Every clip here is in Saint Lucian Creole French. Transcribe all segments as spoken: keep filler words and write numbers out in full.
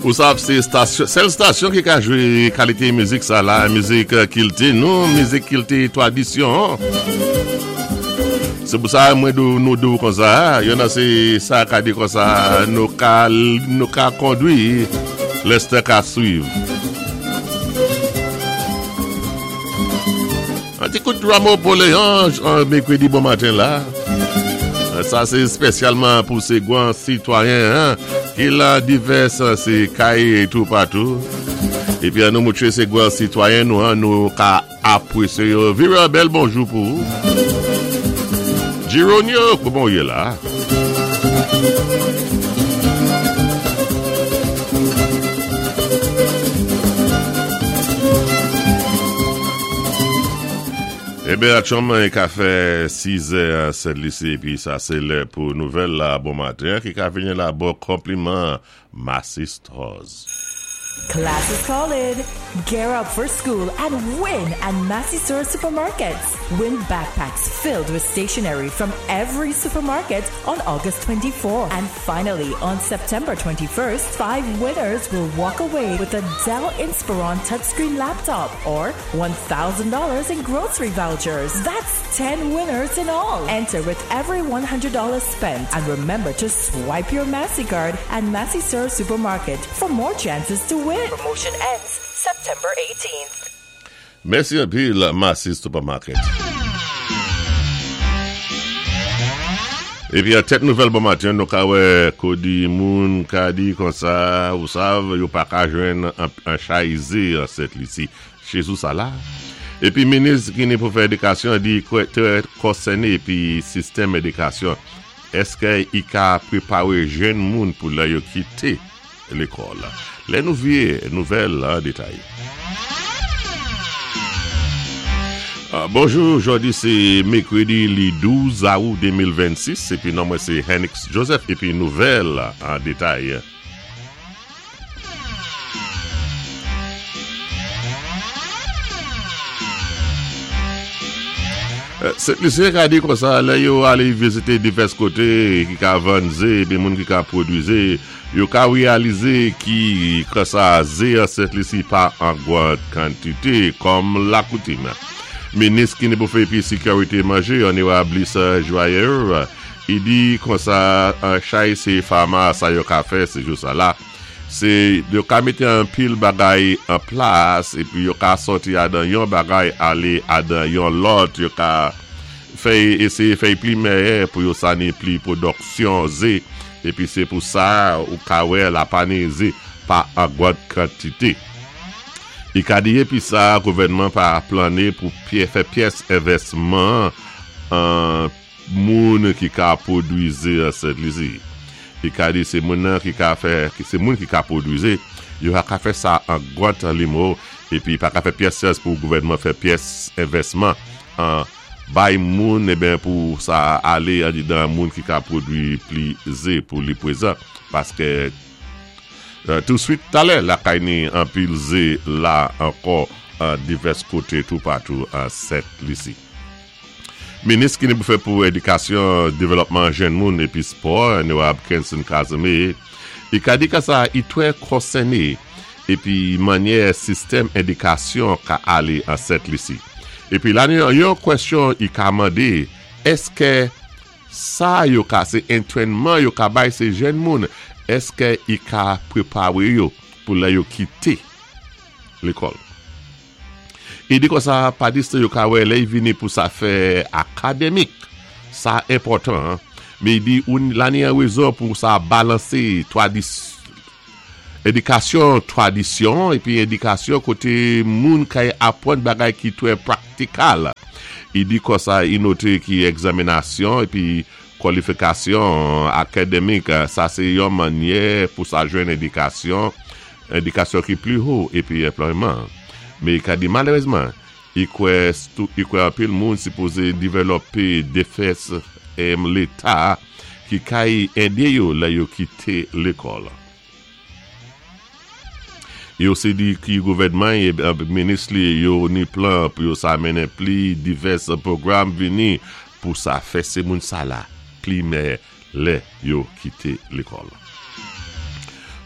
Ou sav, sé stasyon, sèl stasyon ki ka jwé kalité mizik sa la, mizik kilti nou, mizik kilti twadisyon. Sé pou sa mwen dou nou dou kon sa, yon nan sé sa ka di kon sa, nou ka nou ka kondwi, lèstè ka swiv. An ti kout Rameau Paul Léon, an mèkwédi bon maten la. Sa sé spésyalman pou sé gwan sitwayen hein, ki la divès sé kay toupatou. Épi an nou moutwé sé gwan sitwayen nou an nou ka apwésyé yo. Vira bèl bonjou pou ou. Gironio, kouman ou yé la? Eben, aktyèlman, i ka fè sis è Sent Lisi, épi sa sé lè pou nouvèl la bon maten, ki ka vini la bò konpliman Massy Stores. Class is calling. Gear up for school and win at Massy Stores Supermarkets. Win backpacks filled with stationery from every supermarket on August twenty-fourth. And finally, on September twenty-first, five winners will walk away with a Dell Inspiron touchscreen laptop or one thousand dollars in grocery vouchers. That's ten winners in all. Enter with every one hundred dollars spent and remember to swipe your Massy card at Massy Stores Supermarket for more chances to win. Promotion ends September eighteenth. Mèsi anpil, Massy Supermarket. Épi an tèt nouvèl bon maten, nou ka wè kòdi moun ka di kon sa, ou sav, yo pa ka jwenn an, an chay zé an Sent Lisi. Chézou sa la. Épi minis ki ni pou fè édikasyon di kwè trè konsèné épi sistèm édikasyon. Èské i ka pwépawé jenn moun pou lè yo kité lékòl? Lè nou vyé nouvèl an détay. Uh, bonjou, jòdi sé mèkwédi li douz awou de mil vennsis épi non mwen sé Henix Joseph épi nouvèl an détay. Sent Lisyen ka di kon sa, lè yo alé vizité divès koté ki ka vann zé épi moun ki ka pwodwi zé, yo ka wéyalizé ki kon sa zé an Sent Lisi pa an gwan kantité kòm lakoutim. Minis ki ni pou fè épi sékiwité manjé, Onorab Lisa Joyeux, i di kon sa an chay sé fama sa yo ka fè sé jou sa la. Sé yo ka mété an pil bagay an plas épi yo ka sòti adan yon bagay alé adan yon lòt, yo ka fè éséyé fè pli mèyè pou yo sa ni pli pwodiksyon zé épi sé pou sa ou ka wè la pa ni zé pa an gwan kantité. I ka di épi sa gouvèdman pa planné pou pyé, fè pyès envèsman an moun ki ka pwodwi zé an Sent Lisi. I ka di sé moun nan ki ka fè, ki sé moun ki ka pwodwi zé, yo ka fè sa an gwan limo épi pa ka fè pyès sans pou gouvèdman fè pyès envèsman an bay moun eben pou sa alé an dan moun ki ka pwodwi pli zé pou li pwézan paské euh, touswit talè la kay ni an pil zé la ankò an divès koté toupatou an Sent Lisi. Minis ki ni pou fè pou édikasyon, dévlòpman jenn moun épi spò, Onorab Kenson Casimir, i ka di ka sa i twè konsèné épi mannyè sistèm édikasyon ka alé an Sent Lisi. Épi la ni yon kwèsyon i ka mandé, èské sa yo ka sé antrènman yo ka bay sé jenn moun, èské i ka pwépawé yo pou lè yo kité lékòl? I di kon sa, pa diste yo ka wè lè i vini pou sa fè akadémik, sa enpòtan, mé i di ou la ni an wézon pou sa balansé twadis, édikasyon twadisyon épi édikasyon koté moun kay apwann bagay ki twè praktikal. I di kon sa, i noté ki egzaminasyon épi kwalifikasyon akadémik, sa sé yon mannyè pou sa jwenn édikasyon, édikasyon ki pli wo épi anplwayman. Mé i ka di malérézman, i kwè tou, i kwè anpil moun sipozé dévlòpé défès em Léta ki kay édé yo lè yo kité lékòl. Yo sé di ki gouvèdman é minis li yo ni plan pou yo sa mennen pli divès pwogram vini pou sa fè sé moun sa la pli mèyè lè yo kité lékòl.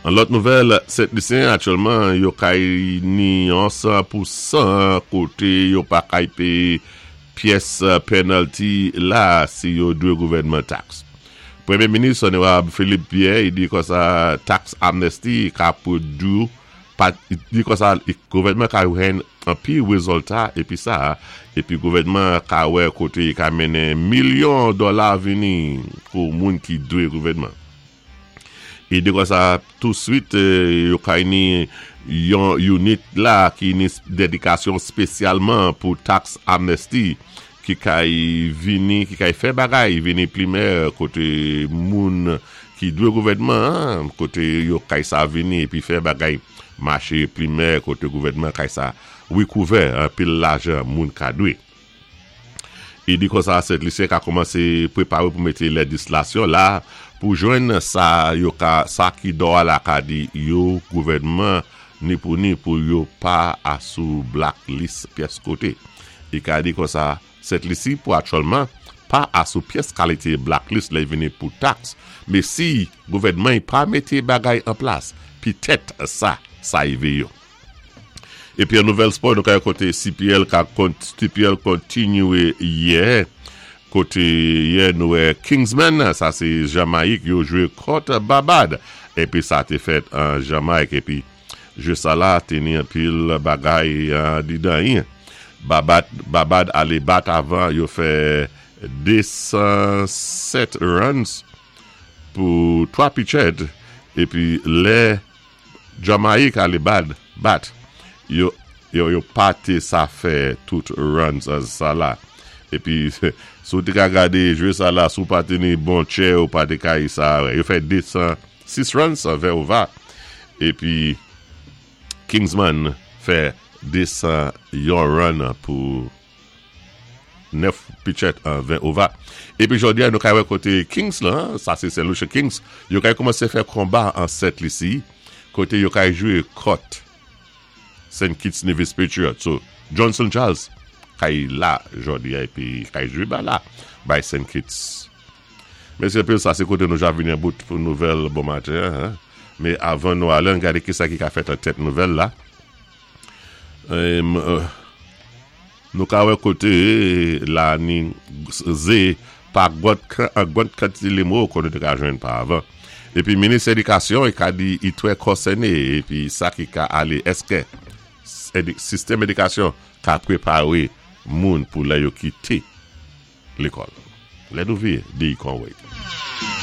An lòt nouvèl, Sent Lisyen aktyèlman yo kay ni an san pou san koté yo pa kay péyé pyès penalty la si yo dwé gouvèdman tax. Pwémyé minis Onorab Philippe Pierre, i di konsa tax amnesty ka pwodwi pa di konsa gouvèdman ka jwenn an pi wézilta épi sa épi gouvèdman ka wè koté ka mennen milyon dola vini pou moun ki dwé gouvèdman. I di konsa touswit yo kay ni yon unit la ki ni dédikasyon spésyalman pou tax amnesty ki kay vini, ki kay fè bagay vini plimè koté moun ki dwé gouvèdman, koté yo kay sa vini épi fè bagay maché plimè koté gouvèdman kay sa wikouvè an pil lajan moun ka dwé. I di konsa Sent Lisyen ka kòmansé pwéparé pou mété léjislasyon la pou jwenn sa yo ka, sa ki dwa la ka di yo gouvèdman ni pou ni pou yo pa asou blacklist pyès koté. I ka di konsa Sent Lisi pou aktyèlman pa asou pyès kalité blacklist lè vini pou tax, mé si gouvèdman pa mété bagay an plas, pitèt sa, sa yivé yo. Épi an nouvèl spò, nou ka koté C P L ka C P L kontinyé yè, koté yè nou wè Kingsman, sa sé Jamayik, yo jwé kont Barbad, épi sa té fèt an Jamayik, épi jwé sa la té ni an pil bagay didan yin. Barbad, Barbad alé bat avan, yo fè de san sèt runs pou twa pitchèd, épi lè Jamayik alé bad, bat, yo, yo, yo pa té sa fè tout runs sa la. Épi, si ou té ka gadé jwé sa la, si ou pa té ni bon tchè ou pa té kay sa, yo fè de san sis runs an ven over. Épi, Kingsman fè de san yon run pou nèf pitchèd an ven over. Épi jòdi a nou kay wè koté Kings la, sa sé Saint Lucia Kings, yo kay kòmansé fè konba an Sent Lisi, koté yo kay jwé kont Saint Kitts Nevis Patriots. So, Johnson Charles kay la jòdi a épi kay jwé ba la bay Saint Kitts. Mèsi anpil, sa sé koté nou ja vini an bout pou nouvèl bon maten. Hein? Mé avan nou alé, an gadé ki sa ki ka fèt an tèt nouvèl la. Euh, nou ka wè koté la ni zé pa gwòt an gwòt kantité limo kon nou té ka jwenn pa avan. Épi minis édikasyon i ka di i twè konsèné épi sa ki ka alé èské sistèm édikasyon ka pwéparé moun pou lè yo kité lékòl. Lè nou vi di kon wait.